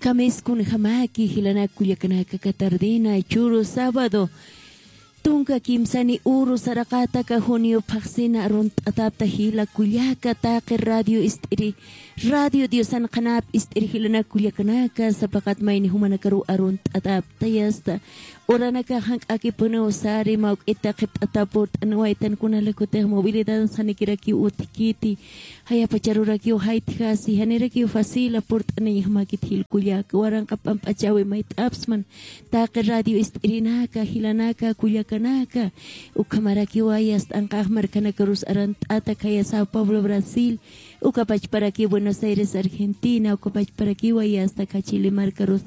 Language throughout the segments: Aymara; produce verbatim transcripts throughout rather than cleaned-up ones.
Kamiskunjamaki jilanak kullakanaka, aka tardina churu sábado tunka kimsani uru saraqata aka junio phaxsina arunt'atapta jila kullaka taqi radio ist'iri, radio Diosan qhanap ist'iri jilanak kullakanaka, sapaqat mayni jumanakaru arunt'atapta yasta. Uranaka jank'akipuniw sari mawk'ita qhipt'ata purt'aniwaytan kunalaykutix movilidad sanikirakiw utjkiti. Jayapacharurakiw jaytjasi, janirakiw facila purt'aniñjamakit jil kullaka, waranqa pamp'achawi mayt'apsman. Taqi radio ist'irinaka, jilanaka, kullakanaka. Ukhamarakiwa yasta anqax markanakarus arunt'ata khaya Sao Paulo, Brasil. Uka pachparakiw Buenos Aires, Argentina. Uka pachparakiwa yasta kha Chile markarus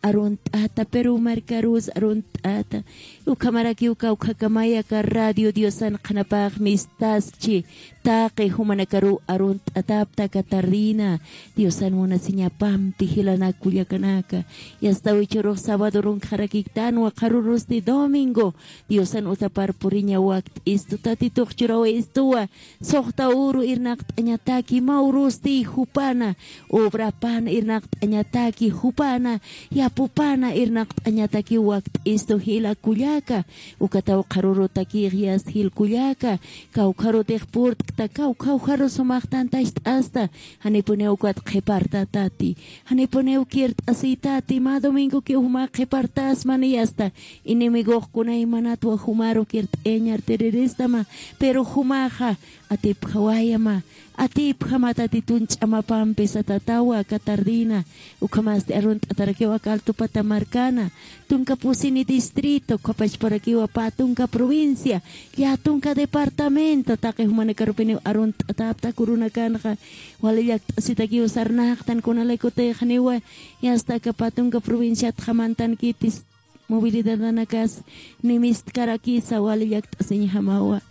arunt'ata, Perú markarus arunt'ata. Ukhamarakiw kawkhakamaya aka radio Diosan qhanapax mistaskchi, taqi jumanakaru arunt'atapta aka tardina. Diosan munasiñapampi jilanak kullakanaka. Yasta wichurux sábado runkxarakiktanwa, qharurusti domingo. Diosan utapar puriña wakt'istu, Tatitux churawistuwa. Suxta uru irnaqt'añataki, mä urusti jupana, obrapana irnaqt'añataki, jupana, yapupana irnaqt'añataki wakt'istu jila kullaka. Ukataw qharurutakix yasta jil kullaka, kawkharutix purt'kta, kawkharus sumax tantacht'asta. Janipuniw ukat qhipartätati, janipuniw kirt'asïtati, mä domingokiw juma qhipartäsmani yasta. Enemigox kunaymanatwa jumaru kirt'ayañartiriristama, pero jumaxa atipjawayama, atipjama Tatitun ch'amapampi satatawa aka tardina. Ukhamasti arunt'atarakiw aka Altupata markana, tunka pusini distrito, ukhapachparakiwa pä tunka provincia, llätunka departamento, taqi jumanakarupiniw arunt'atapta kurunakanxa. Wali llakt'asitakiw sarnaqtan kunalaykutix janiwa yasta aka pä tunka provinciatxa mantankitis. Movilidadanakas nimistkarakisa, wali llakt'asiñjamawa.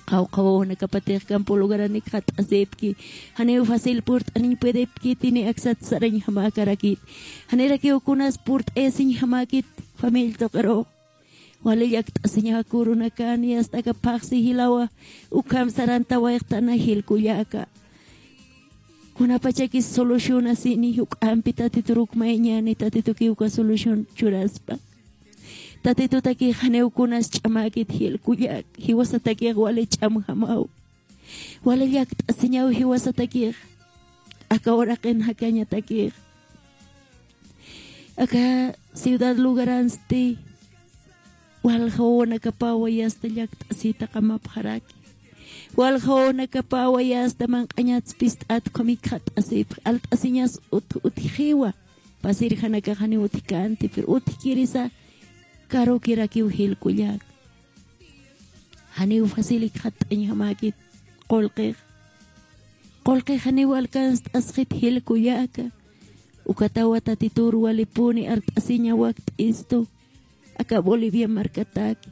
Qawqha wawanakapatix campo lugaranik jat'asipki, janiw facil purt'aniñ puedipkiti, ni aksat sarañjamäkarakit. Janirakiw kunas purt'ayasiñjamäkit familia tuqirux. Wali llakt'asiñawa kurunakan, yasta aka phaxsi jilawa, ukham sarantawayxtana jil kullaka. Kunapachakis solucionasini, juk'ampi Tatitur ukmayañani, Tatitukiw uka solución churaspa. Tatitutakix janiw kunas ch'amäkit jil kullak, jiwasatakix wali ch'amjamaw. Wali llakt'asiñaw jiwasatakix, aka uraqin jakañatakix. Aka ciudad lugaransti, walja wawanakapawa yasta llakt'asita qamapxaraki. Walja wawanakapawa yasta manq'añats pist'at ukham jikxat'asipxi, alt'asiñas ut-, utjixiwa. Pasir janakax janiw utjkänti, pero utjkirisa karukirakiw jil kullak. Janiw facil jikxat'añjamäkit qullqix. Qullqix janiw alcanzt'asxit jil kullaka. Ukatawa Tatitur walipuni art'asiña wakt'istu aka Bolivia markataki.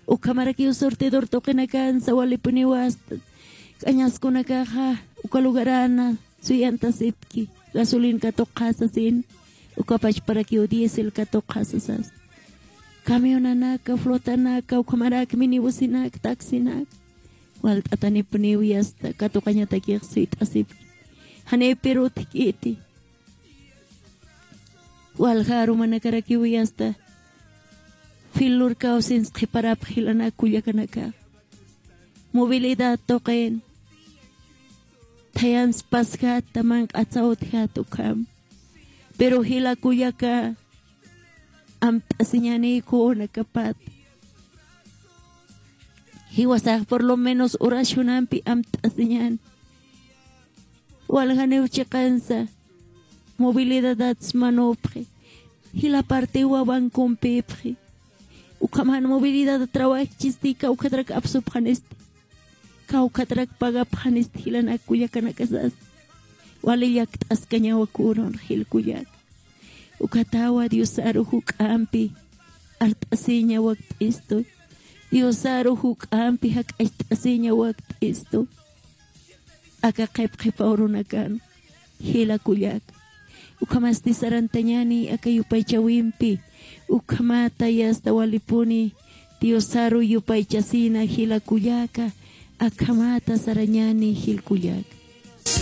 Ukhamarakiw surtidor tuqinakansa walipuniwa asta k'añaskunakaxa uka lugarana suyantasipki, gasolina katuqxasasin, uka pachparakiw diésel katuqxasasas. Camionanaka, flotanaka, ukhamarak minibusinaka, taxinaka. Walt'atanipuniw yasta katuqañatakix suyt'asipki. Janiw pirutjkiti. Walja arumanakarakiw yasta filurkaw sins qhiparapxi jilanak kullakanaka. Movilidad tuqin. Thayans pasjat, manq'atsa utjat ukham. Pero jila kullaka, amt'asiñani kunakapat. Jiwasax por lo menos oracionampi amt'asiñan. Waljaniw chiqansa, movilidadats manupxi. Jila partiwa bancompipxi. Ukhaman movilidad trabajchisti, kawkhatrak apsupxanisti. Kawkhatrak pagapxanisti jilanak kullakanakasas. Wali llakt'askañawa kunun jil kullak. Ukhatawa Diosaru juk'ampi art'asiña wakt'istu. Diosaru juk'ampi jak'acht'asiña wakt'istu. Aka qhipqhipa urunakan jila kullak. Ukhamasti sarantañani aka yupaychawimpi. Ukhamata yasta walipuni Diosaru yupaychasina jila kullaka. Akhamata sarañani jil kullak.